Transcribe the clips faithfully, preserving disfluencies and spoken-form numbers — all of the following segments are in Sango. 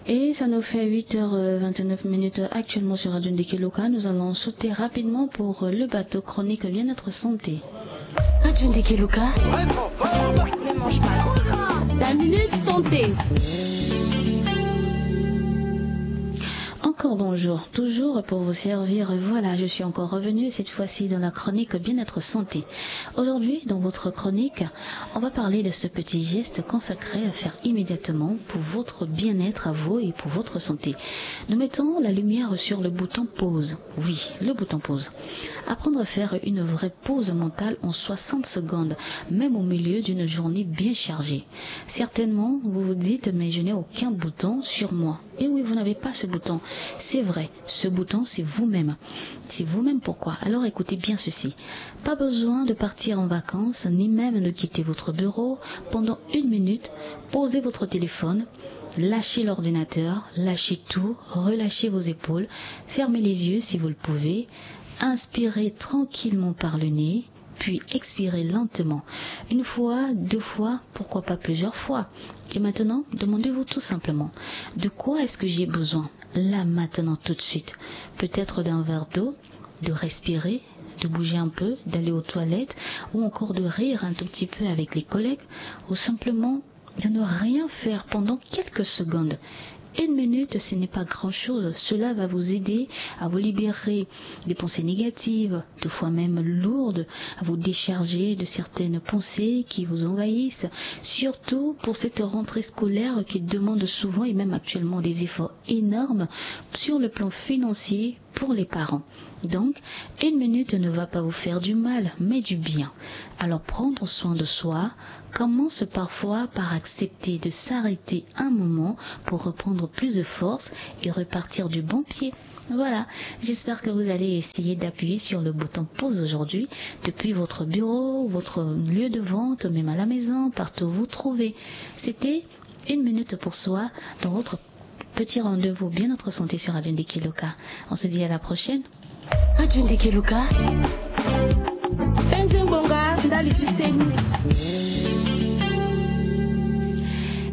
Et ça nous fait huit heures vingt-neuf minutes actuellement sur Radio Ndeke Luka. Nous allons sauter rapidement pour le bateau chronique bien-être santé. Radio Ndeke Luka. Ne mange pas. La minute santé. Encore bonjour, toujours pour vous servir. Voilà, je suis encore revenue, cette fois-ci dans la chronique bien-être santé. Aujourd'hui, dans votre chronique, on va parler de ce petit geste consacré à faire immédiatement pour votre bien-être à vous et pour votre santé. Nous mettons la lumière sur le bouton pause. Oui, le bouton pause. Apprendre à faire une vraie pause mentale en soixante secondes, même au milieu d'une journée bien chargée. Certainement, vous vous dites, mais je n'ai aucun bouton sur moi. Et oui, vous n'avez pas ce bouton. C'est vrai, ce bouton, c'est vous-même. C'est vous-même pourquoi. Alors écoutez bien ceci. Pas besoin de partir en vacances, ni même de quitter votre bureau. Pendant une minute, posez votre téléphone, lâchez l'ordinateur, lâchez tout, relâchez vos épaules, fermez les yeux si vous le pouvez, inspirez tranquillement par le nez, puis expirez lentement. Une fois, deux fois, pourquoi pas plusieurs fois. Et maintenant, demandez-vous tout simplement, de quoi est-ce que j'ai besoin, là, maintenant, tout de suite ? Peut-être d'un verre d'eau, de respirer, de bouger un peu, d'aller aux toilettes, ou encore de rire un tout petit peu avec les collègues, ou simplement de ne rien faire pendant quelques secondes. Une minute, ce n'est pas grand-chose. Cela va vous aider à vous libérer des pensées négatives, des fois même lourdes, à vous décharger de certaines pensées qui vous envahissent, surtout pour cette rentrée scolaire qui demande souvent et même actuellement des efforts énormes sur le plan financier pour les parents. Donc, une minute ne va pas vous faire du mal, mais du bien. Alors, prendre soin de soi commence parfois par accepter de s'arrêter un moment pour reprendre plus de force et repartir du bon pied. Voilà, j'espère que vous allez essayer d'appuyer sur le bouton pause aujourd'hui, depuis votre bureau, votre lieu de vente, même à la maison, partout où vous vous trouvez. C'était une minute pour soi dans votre petit rendez-vous bien-être santé sur Radio Ndeke Luka. On se dit à la prochaine. Radio Ndeke Luka. Penze ngbonga ndali ti seni.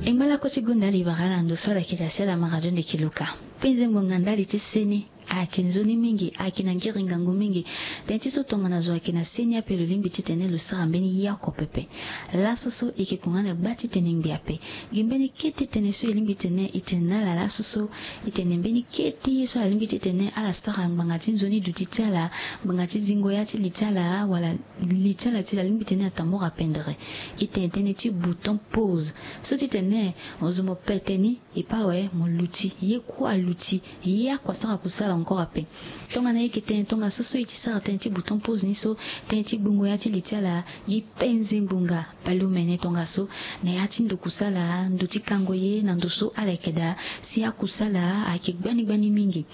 E ngba lako ti gonda libara ala ndo so ala yeke daa si ala ma Radio Ndeke Luka. Penze ngbonga ndali ti seni. Ayeke nzoni mingi, ayeke na ngiri ngangu mingi. Tënë ti so tongana zo ayeke na seni ape, lo lingbi titene lo sara mbeni ye oko pepe. Laso so e yeke konga na gba ti tene ngbia ape. Gi mbeni kete tënë so e lingbi titene e tene na ala laso so, e tene mbeni kete ye so ala lingbi titene ala sara ngbanga ti nzoni duti ti ala, ngbanga ti zingo ya ti li ti ala, wala li ti ala ti ala lingbi titene atambula pendere. E tene tënë ti bouton pause. So titene mo zo mo pete ni, e pa awe mo luti, ye kue aluti, ye oko asara kusala encore ape. Tongana e yeke tene tongaso so e ti sara tënë ti bouton pause ni so, tënë ti gbongo ya ti li ti ala, gi penze ngbonga baleomene tongaso, na ya ti ndo kusala, ndo ti kango ye na ndo so ala yeke daa, si akusala ayeke gbani gbani mingi.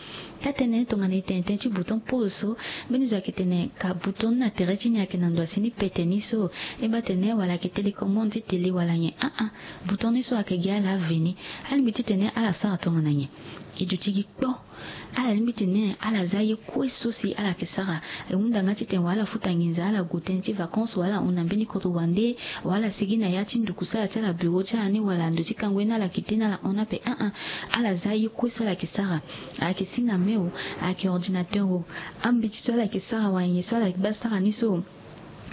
Taa-tënë tongana e tene tënë ti bouton pause so, mbeni zo ayeke tene ka bouton ni na tere ti ni ayeke na ndo asi ni pete ni so, e baa tene wala ayeke télécommande ti télé wala nyen, ah ah. Bouton ni so ayeke gi ala veni. Alingbi titene ala sara tongana nyen? E duti gi kpo. Ala lingbi titene ala za ye kue so si ala yeke sara. E hunda nga titene wala ala futa nginza, ala gue tënë ti vacances, wala ala hon na mbeni kodro wande, wala ala sigi na ya ti ndo kusala ti ala, bureau ti ala ni, wala ndo ti kango ye ni ala kite ni ala hon ape, ah ah. Ala za ye kue so ala yeke sara. Ayeke singa me o, ayeke ordinateur o, ambeti so ala yeke sara wala nyen so ala yeke baa sara ni so,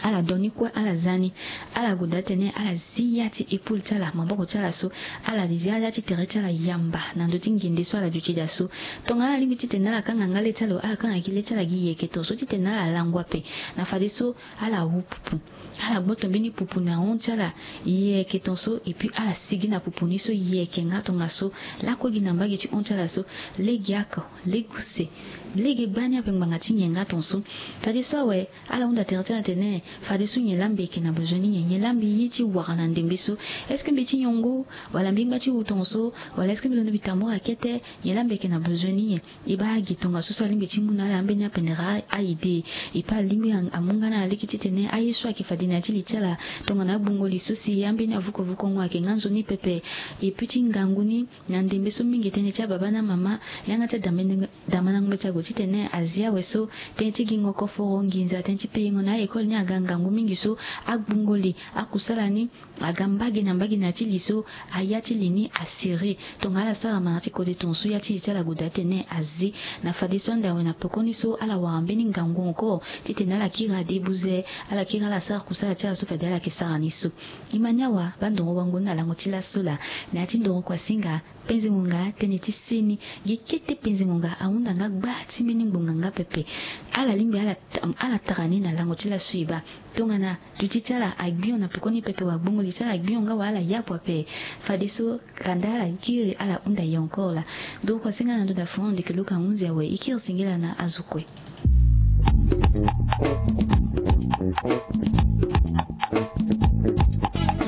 ala do ni kue, ala za ni. Ala gue daa titene ala zi ya ti épaule ti ala, maboko ti ala so, ala zi ya ti tere ti ala yamba na ndö ti ngende so ala duti daa so. Tongana ala lingbi titene ala kanga nga le ti ala o, ala kanga gi le ti ala gi yeke tongaso titene ala lango ape. Na fadeso ala wu pupu. Ala gboto mbeni pupu na hon ti ala yeke tongaso, et puis ala sigi na pupu ni so yeke nga tongaso. Lakue gi na mbage ti hon ti ala so, lege oko, lege use, lege gbani ape ngbanga ti nyen nga tongaso. Fadeso awe, ala hunda tere ti ala tene, fadeso nyen la mbi yeke na besoin ni nyen? Nyen la mbi ye ti wara na ndembe so? Est-ce que mbi ye ti nyongo? Wala mbi ngba ti wu tongaso? Wala est-ce que mbi londo mbi tambula kete? Nyen la mbi yeke na besoin ni nyen? E baa gi tongaso so alingbi ti mu na ala ambeni apendere a-idée. E pa alingbi a-, amu nga na ala lege titene aye so ayeke fade na ya ti li ti ala, tongana agbongo li so si ambeni avukovukongo ayeke nga nzoni pepe. E puis ti ngangu ni, na ndembe so mingi tënë ti ababa na amama, yanga ti adambe-, damandango mbeti ague titene azi awe so, tënë ti gingo koforo, nginza, tënë ti payengo na a-école ni aga ngangu mingi so agbungo li akusala ni aga mbage na mbage na ya ti li so aya ti li ni asere. Tongana ala sara mara ti kode tongaso ya ti li ti ala goda atene azi. Na fadeso ande awe na pekoni so ala wara mbeni ngangu encore titene ala kiri ade buze, ala kiri ala sara kusala ti ala so fade ala yeke sara ni so. E ma ni awa baa ndoro wango ni na lango ti laso laa. Na ya ti ndoro kuasinga penze ngonga tënë ti seni. Gi kete penze ngonga ahunda nga gba ti mbeni ngbonga nga pepe. Ala lingbi ala, ala tara ni na lango ti laso e baa. Tongana duti ti ala agbio na pekoni pepe wa gbongoli ti ala agbio nga wa ala yapu ape. Fadeso kanda ala kiri ala hunda ye encore laa. Ndoro kuasinga na ndo da fon ndeke luka hunzi awe e kiri singila na azo kue.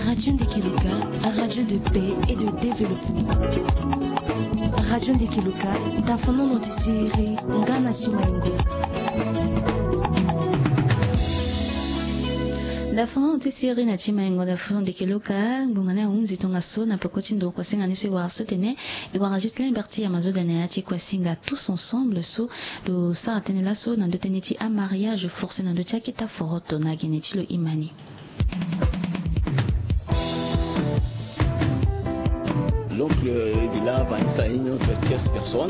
Radio Ndekeluka, radio de paix et de développement. Radio Ndekeluka, dafonono ti siriri nga na simaingo. Dafonono ti siriri na simaingo, dafonono Ndekeluka, ngbonga ni ahunzi tongaso na peko ti ndoro kuasinga ni so e wara so tene e wara Ghislain Berti ya mazoda na ya ti kuasinga tous ensemble so lo sara tënë laso na ndö tënë ti amariage forcé na ndö ti akita foroto na gene ti lo imani. L'oncle Bila Vanessa, une autre tierce personne.